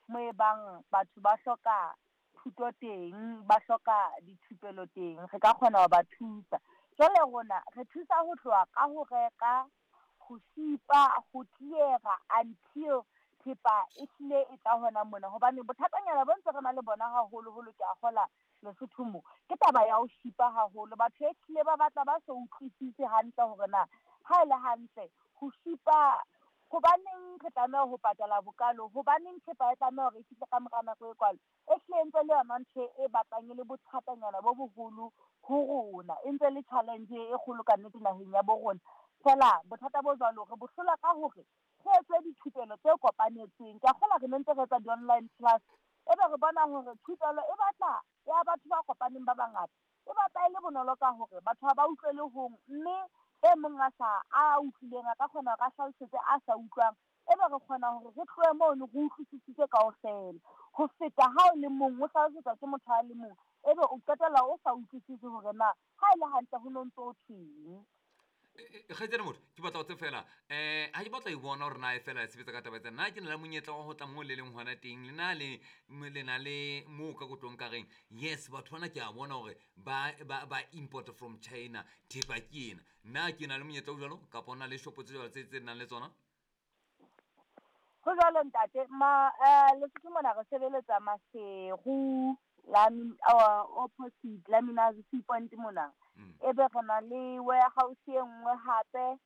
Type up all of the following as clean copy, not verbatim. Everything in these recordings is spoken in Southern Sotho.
Mo e bang batho ba hloka thuto teng, ba hloka dithupelo teng, re ka kgona ho ba thusa. Jwale rona re thusa ho tloha ka ho reka, ho shipa, ho clear-a until thepa e hlile e tla hona mona. Hobane bothatanyana bo ntse re na le bona haholoholo, ke a kgola Lesotho mo, ke taba ya ho shipa haholo. Batho e hlile ba batla ba so utlwisise hantle hore na ha e le hantle ho shipa hobaneng re tlameha ho patala bokalo, hobaneng thepa e tlameha hore e fihle ka mora nako e kwalo. E hlile ntse le yona ntho e batlang e le bothatanyana bo boholo ho rona, e ntse le challenge e kgolo ka nnete naheng ya bo rona. Feela bothata bo jwalo re bo hlola ka hore re etse dithupelo tse kopanetsweng. Ke a kgolwa re ne ntse re etsa di-online class, ebe re bona hore thupelo e batla ya batho ba kopaneng ba bangata, e batla e le bonolo ka hore batho ha ba utlwele hong, mme e mong a sa a utlwileng a ka kgona hore a hlalosetse a sa utlwang, ebe re kgona hore re tlohe mono re utlwisisitse kaofela. Ho feta ha o le mong o hlalosetswa ke motho a le mong, ebe o qetella o sa utlwisise hore na ha e le hantle ho no ntso thweng. Kgaitsedi motho, ke batla ho tse fela ha ke batla ho bona hore na e fela e sebetsa ka taba tsa nna, ke na le monyetla wa ho tla moo le leng hona teng, le na le le na le moo ka kotlong ka reng yes, batho bana ke a bona hore ba import from China, thepa ke ena. Nna ke na le monyetla o jwalo, kapa o na le shopo tse jwalo tse nang le tsona? Ho jwalo ntate, ma Lesotho mona re sebeletsa Maseru, opposite Laminaz Sea Point mona. Ebe re na le warehouse e nngwe hape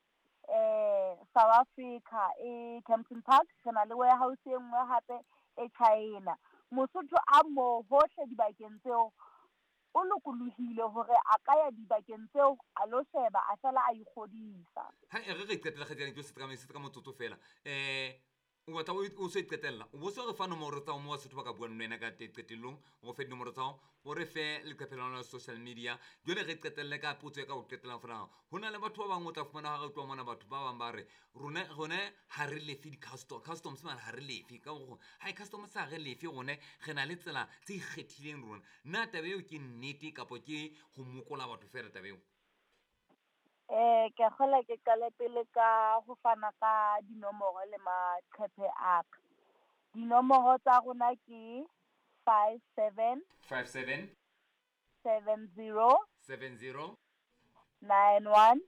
South Africa e Kempton Park, re na le warehouse e nngwe hape e China. Mosotho a mo hohle dibakeng tseo o lokolohile hore a ka ya dibakeng tseo a lo sheba, a fela a ikgodisa. Ha e re qetela kgaitsedi, ke se ka motsotso fela. O batla o se qetella, o bo se re fa nomoro tsa mo Basotho ba ka buang le wena ka qetellong, o fe dinomoro tsa hao, o re fe leqephe la lona la social media. Jwale re qetelle ka potso ya ka ho qetellang fela. Ho na le batho ba bang o tla fumana ha re tloha mona, batho ba bang ba re rone ha re lefe di-customs mane, ha re lefe ka hore ha customs ha re lefe, rone re na le tsela tse ikgethileng rona. Na taba eo ke nnete kapa ke ho mokola batho fela taba eo? Ke a kgolwa ke qale pele ka ho fana ka dinomoro le maqephe a ka. Dinomoro tsa rona ke 57 57 70 70 91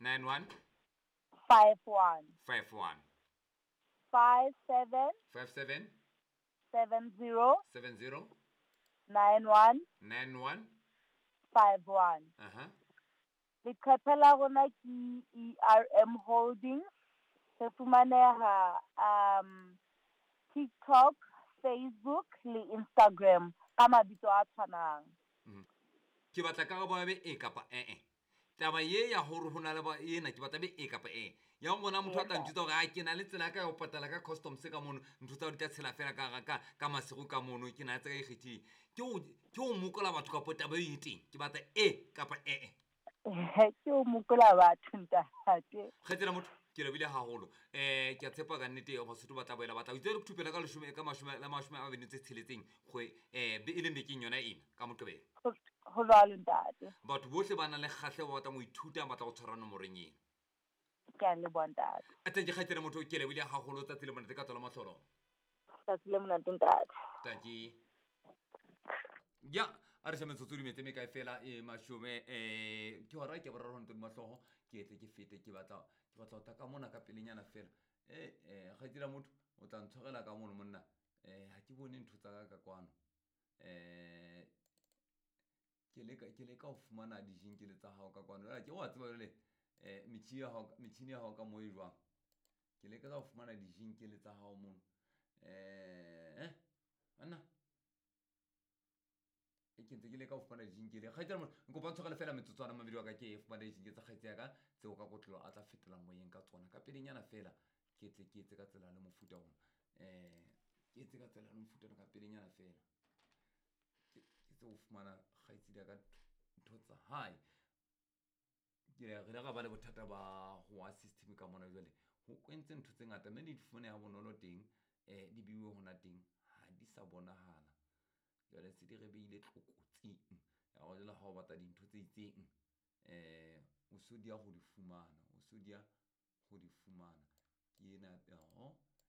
91 51 51 57 57 70 70 91 91 51. Leqephe la rona ke ERM Holdings. Re fumaneha TikTok, Facebook le Instagram ka mabitso a tshwanang. Ke batla karabo ya be e kapa e. Taba ye ya hore ho na le ba ena, ke batla be e kapa e. Ya ho bona motho a tla ntjwetsa hore a ke na le tsela ya ka ya ho patala ka customs ka mono, ntho tsa hao di tla tshela fela ka Maseru ka mono, ke na le tsela e ikgethileng. Ke ho mokola batho kapa taba eo e teng? Ke batla e kapa e. Ke ho mokola batho ntate. Kgaitsedi motho, ke lebohile haholo. Ke a tshepa ka nnete Basotho ba tla boela ba tla. O itse re thupelo ka leshome, ka mashome, la mashome a mabedi tse tsheletseng kgwe, e leng bekeng yona ena ka Moqebelo. Ho jwalo ntate. Batho bohle ba nang le kgahleho, ba batlang ho ithuta, ba tla go tshwara nomorong ena. Ke a leboha ntate. Thank you kgaitsedi motho, ke lebohile haholo. Tsatsi le monate ka tswela mahlolo. Tsatsi le monate ntate. Thank you. Ya, a re shebe metsotso di metse mekae fela, e mashome, ke hora ke boraro ntlo di mahloho, ke tle ke fete, ke batla ho tla ka mona ka pelenyana fela. Kgaitsedi motho, o tla ntshwarela ka mono monna. Ha ke bone ntho tsa ka ka kwano. Ke leka ho fumana dijinkele tsa hao ka kwano. Jwale ke wa tseba jwale, metjhini ya hao ka moo e jwang. Ke leka ka ho fumana dijinkele tsa hao mono. Anna. E ke ntse ke leka ho fumana dijinkele. Kgaitsedi motho, nkopa ntshwarele fela metsotswana mabedi wa ka, ke fumane dijinkele tsa kgaitsedi ya ka tseo ka kotlolo a tla fetola moyeng ka tsona. Ka pelenyana fela, ke tle ke etse ka tsela le mofuta ona. Ke etse ka tsela le mofuta ona ka pelenyana fela. Ke tse ho fumana kgaitsedi ya ka ntho tsa hae. Ke re ile ra ba le bothata ba ho wa system ka mona jwale. Ho kwentse ntho tse ngata, mme di fumaneha bonolo teng, di beiwe hona teng, ha di sa bonahala. Jwale se di re beile tlokotsing. Ya hore jwale ha o batla dintho tse itseng, o so dia ho di fumana, o so dia ho di fumana. Ke ena, oho.